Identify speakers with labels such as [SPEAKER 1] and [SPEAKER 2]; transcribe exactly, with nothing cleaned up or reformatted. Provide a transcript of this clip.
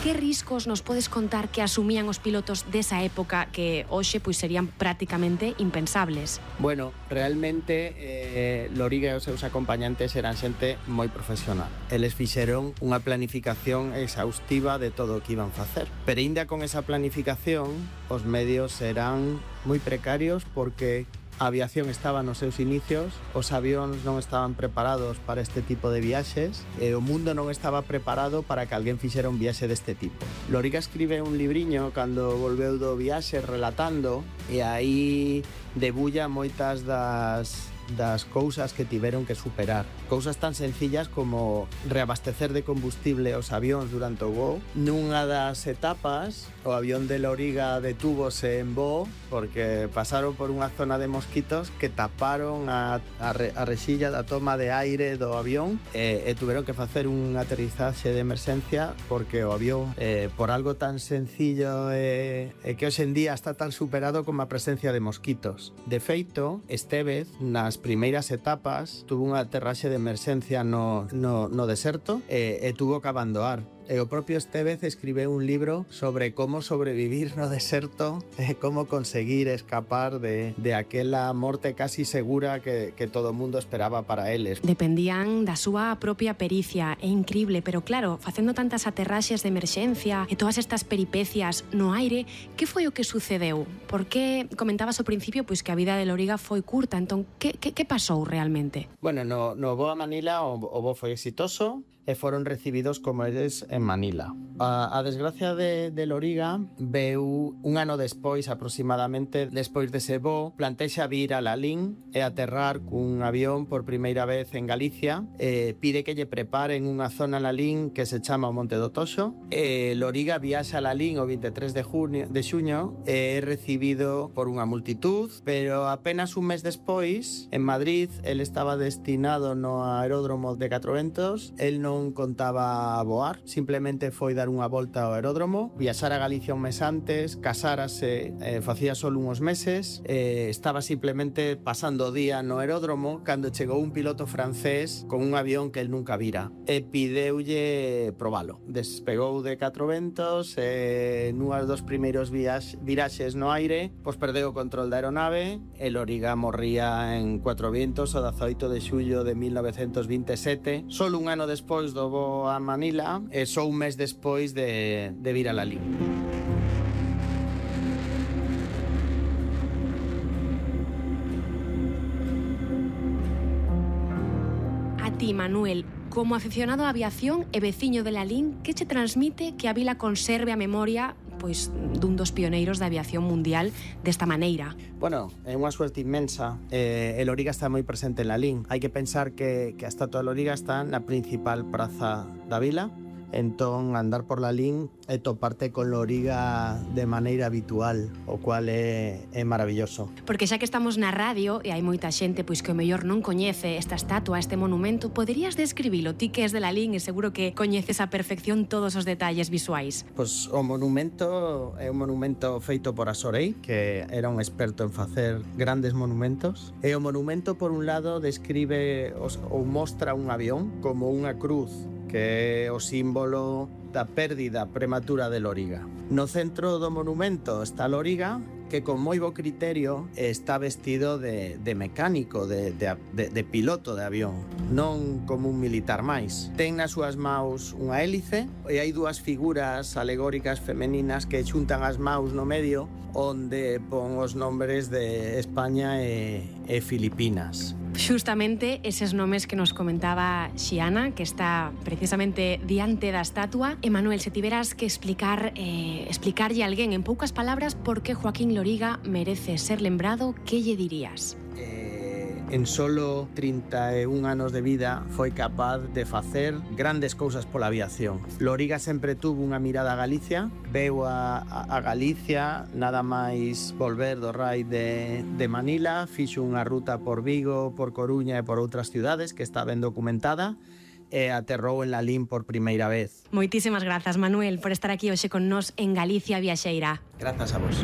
[SPEAKER 1] que riscos nos podes contar que asumían os pilotos desa época que hoxe pois serían prácticamente impensables?
[SPEAKER 2] Bueno, realmente eh, Loriga e os seus acompañantes eran xente moi profesional. Eles fixeron unha planificación exhaustiva de todo o que iban facer. Pero ainda con esa planificación, os medios eran moi precarios porque a aviación estaba nos seus inicios, os avións non estaban preparados para este tipo de viaxes e o mundo non estaba preparado para que alguén fixera un viaxe deste tipo. Loriga escribe un libriño cando volveu do viaxe relatando e aí debulla moitas das das cousas que tiveron que superar. Cousas tan sencillas como reabastecer de combustible os avións durante o voo. Nunha das etapas, o avión de Loriga detúvose en voo porque pasaron por unha zona de mosquitos que taparon a, a, re, a rexilla da toma de aire do avión e, e tuveron que facer un aterrizaxe de emerxencia porque o avión, eh, por algo tan sencillo e, e que hoxe en día está tan superado como a presencia de mosquitos. De feito, Estévez, nas primeiras etapas, tuvo unha aterraxe de emerxencia no, no, no deserto e, e tuvo que abandonar. E o propio Estévez escribe un libro sobre como sobrevivir no deserto e como conseguir escapar de, de aquela morte casi segura que, que todo o mundo esperaba para eles.
[SPEAKER 1] Dependían da súa propia pericia, é incrible, pero claro, facendo tantas aterraxes de emerxencia e todas estas peripecias no aire, que foi o que sucedeu? Porque comentabas ao principio pois que a vida de Loriga foi curta, entón que, que, que pasou realmente?
[SPEAKER 2] Bueno, no, no voo a Manila o, o voo foi exitoso e foron recibidos como eles en Manila. A, a desgracia de, de Loriga veu un ano despois, aproximadamente, despois dese voo, plantexa vir a Lalín e aterrar cun avión por primeira vez en Galicia, e pide que lle preparen unha zona en Lalín que se chama o Monte do Toxo, e Loriga viaxa a Lalín o vinte e tres de junio, de xuño e é recibido por unha multitud, pero apenas un mes despois, en Madrid, el estaba destinado no aeródromo de Catro Ventos, el non non contaba a voar, simplemente foi dar unha volta ao aeródromo, viaxar a Galicia un mes antes, casárase, eh, facía só uns meses, eh, estaba simplemente pasando o día no aeródromo cando chegou un piloto francés con un avión que el nunca vira e pideulle probalo. Despegou de Catro Ventos e nunhas dos primeiros viax, viraxes no aire, pois perdeu o control da aeronave e Loriga morría en Cuatro Vientos o dezaoito de xullo de mil novecentos vinte e sete, solo un ano despois do voo a Manila e só un mes despois de, de vir a Lalín.
[SPEAKER 1] A ti, Manuel, como aficionado á aviación e veciño de Lalín, que che transmite que a vila conserve a memoria pois dun dos pioneiros da aviación mundial desta maneira?
[SPEAKER 2] Bueno, é unha suerte inmensa. Eh, el Loriga está moi presente en Lalín. Hai que pensar que, que a estatua de Loriga está na principal praza da vila. Entón, andar por Lalín e toparte con Loriga de maneira habitual, o cual é, é maravilloso.
[SPEAKER 1] Porque xa que estamos na radio e hai moita xente pois que o mellor non coñece esta estatua, este monumento, poderías describilo? Ti que és de Lalín e seguro que coñeces a perfección todos os detalles visuais.
[SPEAKER 2] Pois o monumento é un monumento feito por Asorei, que era un experto en facer grandes monumentos. E o monumento, por un lado, describe os, ou mostra un avión como unha cruz, que é o símbolo da pérdida prematura de Loriga. No centro do monumento está Loriga, que con moi bo criterio está vestido de, de mecánico, de, de, de, de piloto de avión, non como un militar máis. Ten nas súas maus unha hélice e hai dúas figuras alegóricas femeninas que xuntan as maus no medio, onde pon os nombres de España e, e Filipinas.
[SPEAKER 1] Xustamente eses nomes que nos comentaba Xiana, que está precisamente diante da estatua. E Manuel, se tiveras que explicar eh, explicarlle a alguén en poucas palabras por que Joaquín Loriga merece ser lembrado, que lle dirías?
[SPEAKER 2] Eh, en solo trinta e un anos de vida foi capaz de facer grandes cousas pola aviación. Loriga sempre tuvo unha mirada a Galicia, veu a, a Galicia nada máis volver do raid de, de Manila, fixo unha ruta por Vigo, por Coruña e por outras ciudades que está ben documentada, e aterrou en Lalín por primeira vez.
[SPEAKER 1] Moitísimas grazas, Manuel, por estar aquí hoxe con nós en Galicia Viaxeira.
[SPEAKER 2] Grazas a vos.